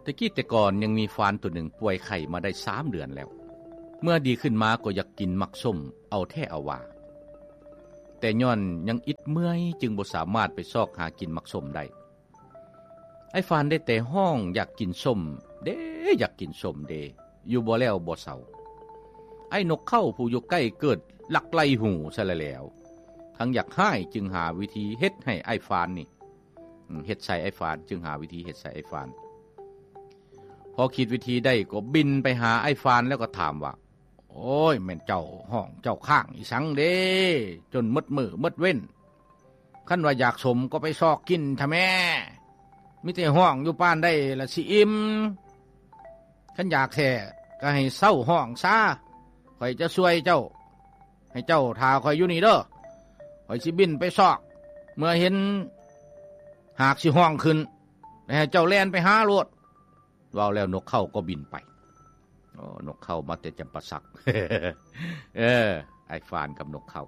ຕະກີ້ແຕ່ກ່ອນຍັງມີຟານໂຕໜຶ່ງປ່ວຍໄຂ້ມາໄດ້ສາມເດືອນແລ້ວ. ເມື່ອດີຂຶ້ນມາກໍຢາກກິນໝາກສົ້ມເອົາແທ້ເອົາວ່າ, ແຕ່ຍ້ອນຍັງອິດເມື່ອຍຈຶ່ງບໍ່ສາມາດໄປຊອກຫາກິນໝາກສົ້ມໄດ້. ອ້າຍຟານໄດ້ແຕ່ຮ້ອງຢາກກິນສົ້ມເດ້ ຢາກກິນສົ້ມເດ້ ຢູ່ບໍ່ແລ້ວບໍ່ເຊົາ. ອ້າຍນົກເຂົາຜູ້ຢູ່ໃກ້ເກີດລັກໄລ່ຫູຊະແລ້ວ, ທັງຢາກຮ້າຍຈຶ່ງຫາວິທີເຮັດໃຫ້ອ້າຍຟານນີ້ ເຮັດໃສ່ອ້າຍຟານ ຈຶ່ງຫາວິທີເຮັດໃສ່ອ້າຍຟານ. ພໍຄິດວິທີໄດ້ກໍບິນໄປຫາອ້າຍຟານແລ້ວກໍຖາມວ່າ, ໂອ້ຍ ແມ່ນເຈົ້າຮ້ອງເຈົ້າຄ້າງອີ່ສັງເດ້ ຈົນໝົດມື້ໝົດເວັນ? ຄັນວ່າຢາກສົ້ມກໍໄປຊອກກິນທະແມ້, ມີແຕ່ຮ້ອງຢູ່ປານໃດລະຊິອີ່ມ? ຄັນຢາກແທ້ກໍໃຫ້ເຊົາຮ້ອງຊາ, ຂ້ອຍຈະຊ່ວຍເຈົ້າ. ໃຫ້ເຈົ້າຖ້າຂ້ອຍຢູ່ນີ້ເດີ, ຂ້ອຍຊິບິນໄປຊອກ, ເມື່ອເຫັນຫາກຊິຮ້ອງຂຶ້ນ ແລ້ວໃຫ້ເຈົ້າແລ່ນໄປຫາໂລດ. ເວົ້າແລ້ວນົກເຂົາກໍບິນໄປ. ໂອ້ ນົກເຂົາມາແຕ່ຈຳປາສັກ. ເອີ ອ້າຍຟານກັບນົກເຂົາ.